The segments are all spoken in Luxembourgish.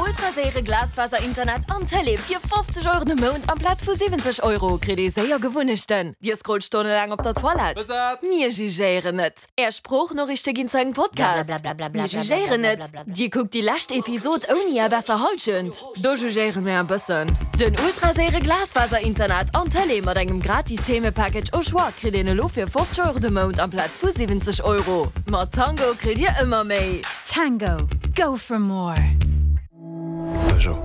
Ultraséiere Glasfaser-Internet an Tëlee fir 50 Euro de Mount amplaz vu 70 Euro kritt ee séier Gewunnechten. Dir scrollt stonnelaang op der Toilette? Mir jugéieren net. Är Sproochnoriichte ginn zu engem Podcast? Mir jugéieren net. Dir kuckt déi lescht Episod ouni är besser Hallschent? Do jugéiere mir e bëssen. Den ultraséiere Glasfaser-Internet an Tëlee mat engem gratis Themepackage au choix kritt een elo fir 50 Euro de Mount amplaz vu 70 Euro. Mat Tango kritt dir ëmmer méi. Tango, go for more! Peugeot.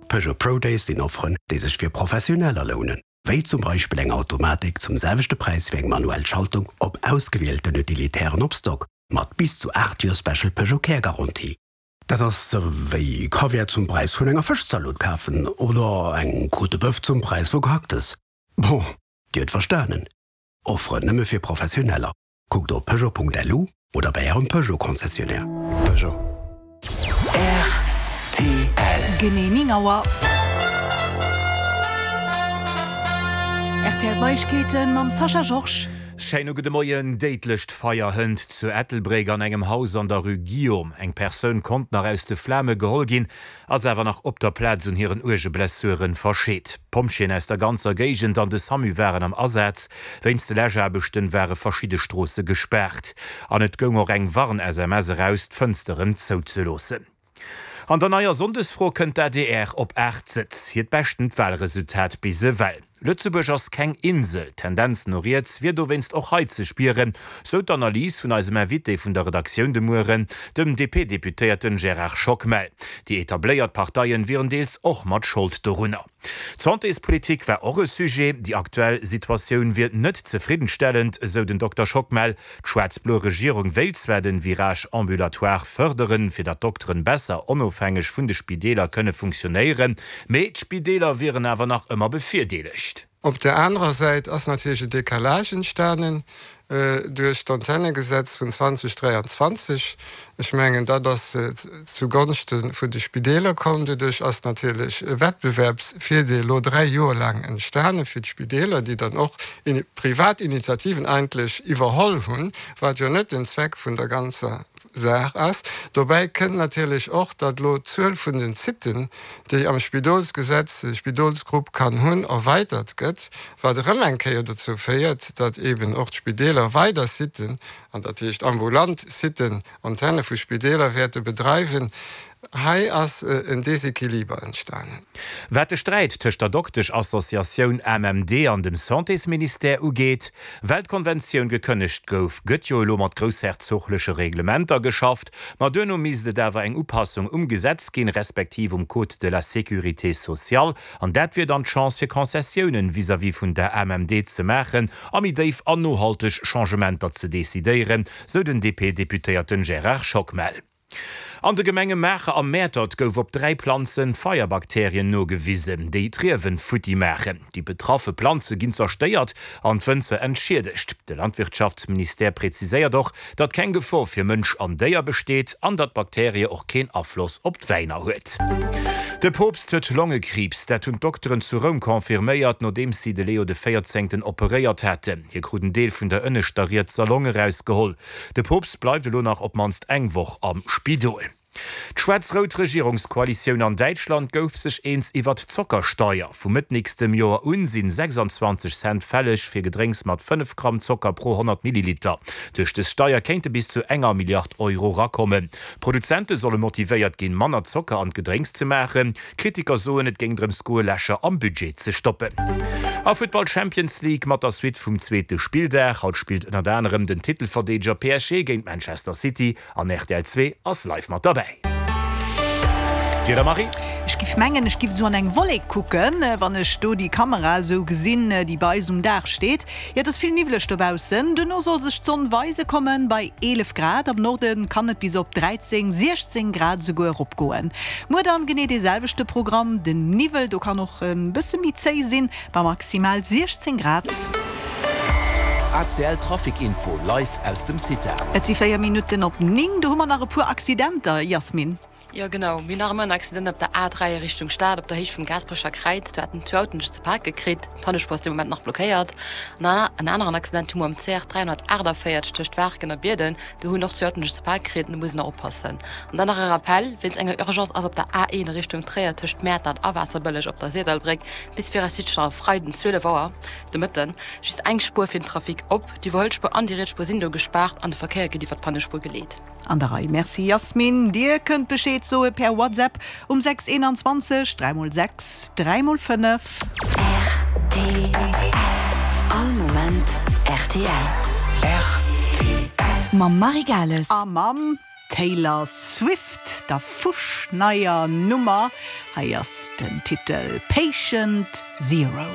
Peugeot Pro Days sinn Offeren, déi sech fir Professioneller lounen, wéi zum Beispill eng Automatik zum selwechte Präis wéi eng manuell Schaltung op ausgewielten Utilitären op Stock, mat bis zu 8 Joer Special Peugeot Care Garantie. Dat ass wéi Kaviar zum Präis vun enger Fëschzalot kafen oder eng Côte de Boeuf zum Präis vu Gehacktes. Bon, Dir huet verstanen, Offeren nëmme fir Professioneller. Kuckt op Peugeot.lu oder bei Ärem Peugeot-Concessionnaire. Peugeot. Rtl. Genee 9 Auer. Rtl Neiegkeeten mam Sascha Georges. Schéine gudde Moien. Déidlecht Feier hënt zu Ettelbréck an engem Haus an der Rue Guillaume. Eng Persoun konnt nach aus de Flame geholl ginn, ass awer nach op der Plaz un hiren uerge Blessuren verscheet. D'Pompjeeën aus der ganzer Géigend an de Samu waren am Asaz. Wéinst de Läschaarbechten ware verschidde Stroosse gespaart an et goung och eng Warn-SMS eraus, d'Fënsteren zouzeloossen. An der neier Sonndesfro kënnt d'ADR op 8 Sëtz, hiert beschtent Walresultat bis ewell. Lëtzebuerg ass keng Insel, d'Tendenz no riets wier dowéinst och hei ze spieren, sou d'Analys vun eisem Invité vun der Redaktioun de Mueren, dem DP-Deputéierten Gérard Schockmel. Déi etabléiert Parteien wieren deels och mat Schold dorunner. D'Santéspolitik war och e Sujet. Déi aktuell Situatioun wier net zefriddenstellend, esou den Dokter Schockmel. D'schwaarz-blo Regierung wéilt zwar den Virage ambulatoire fërderen, fir datt d'Dokteren besser onofhängeg vun de Spideeler kënne funktionéieren, mee d'Spideeler wieren awer nach ëmmer bevirdeelegt. Op där anerer Säit ass natierlech e Décalage entstanen duerch d'Antennegesetz vun 2023. Ech mengen, dat ass zu Gonschte vun de Spideeler komm. Doduerch ass natierlech e Wettbewerbsvirdeel elo dräi Joer laang entstane fir d'Spideeler, déi dann och privat Initiativen eigentlech iwwerholl hunn, wat jo net den Zweck vun der ganzer Saach ass. Dobäi kënnt natierlech och, datt elo d'Zuel vun den Sitten, déi am Spidolsgesetz e Spidolsgrupp kann hunn, erweitert gëtt, wat erëm eng Kéier dozou féiert, datt eeben och d'Spideeler weider Sitten, an dat heescht ambulant Sitten, Antenne vu Spideeler wäerte bedreiwen. Hei ass en Desequiliber entstanen. Wat de Sträit tëscht der Doktesch-Associatioun AMMD an dem Santésministère ugeet, well d'Konventioun gekënnegt gouf, gëtt jo elo mat groussherzogleche Reglementer geschafft, ma duerno misst et awer eng Upassung um Gesetz ginn, respektiv um Code de la sécurité sociale. An dat wier dann d'Chance fir Concessiounen vis-à-vis vun der AMMD ze maachen a méi déif an nohalteg Changementer ze decidéieren, sou den DP-Deputéierten Gérard Schockmel. An de Gemenge Maacher a Mäertert gouf op 3 Planze Feierbakterien nogewisen, déi d'Riewen futti maachen. Déi betraffe Planze ginn zerstéiert an d'Wënzer entschiedegt. De Landwirtschaftsministère präziséiert och, datt keng Gefor fir Mënsch an Déier besteet an datt d'Bakterie och keen Afloss op d'Wäiner huet. De Poopst huet Longekriibs, dat hunn d'Dokteren zu Roum confirméiert, nodeems si de Leo de Véierzéngten operéiert haten. Hie krut en Deel vun der ënneschter rietser Long erausgeholl. De Poopst bleift elo nach op d'mannst eng Woch am Spidol. D'schwaarz-rout Regierungskoalitioun an Däitschland gouf sech eens iwwert d'Zockersteier. Vu Mëtt nächstem Joer un sinn 26 Cent fälleg fir Gedrénks mat 5 Gramm Zocker pro 100 Milliliter. Duerch des Steier kéinte bis zu enger Milliard Euro rakommen. D'Produzente solle motivéiert ginn, manner Zocker an d'Gedrénks ze maachen. Kritiker soen, et géing drëms goe Lächer am Budget ze stoppen. A Futtball Champions League mat der Suite vum zweete Spilldag. Haut spillt ënnert anerem den Titelverdeedeger PSG géint Manchester City. An rtl 2 ass live mat derbäi. D'Wieder Marie? Ech giff mengen ech giff esou an eng Wollek kucken, wann ech do déi Kamera esou gesinn déi bei eis um Daach steet. Jo et ass vill niwwleg dobaussen, duerno soll sech d'Sonn weise kommen bei 11 Grad. Am Norde kann et bis op 13, 16 Grad esouguer eropgoen. Muer dann genee dee selwechte Programm, den Niwwel do kann och e bësse méi zéi sinn, Bei maximal 16 Grad. ACL Trafic Info live aus dem CITA. Et si 4 Minutten op 9, do hu mer nach e puer Accidenter, Yasmine. Jo genau, mir hunn nach ëmmer en Accident op der A3 a Richtung Stad op der Héicht vum Gaasperecher Kräiz. Do haten zwou Autoen sech ze pake kritt. D'Pannespuer ass dee Moment nach blockéiert. An en aneren Accident hu mer um CR 348 tëscht Waarken a Bierden. Do hunn och zwou Autoen sech ze pake kritt an do muss een nach oppassen. An dann nach e Rappel, Wéinst enger Urgence ass op der A1 a Richtung Tréier tëscht Mäertert a Waasserbëlleg op der Syrdallbréck bis viraussiichtlech nach e Freiden 12 Auer de Mëtten just eng Spuer fir den Trafic op. D'Iwwerhuelspuer an déi riets Spuer sinn do gespaart an de Verkéier gëtt iwwer d'Pannespuer geleet. An der Rei. Merci Yasmine. Dir kënnt Bescheed soe per WhatsApp um 6 21 3 mol 6 3 mol 5. Rtl. All Moment rtl. Rtl. Mam Marie Gales. A mam Taylor Swift, der fuschneier Nummer. Hei ass den Titel Patient Zero.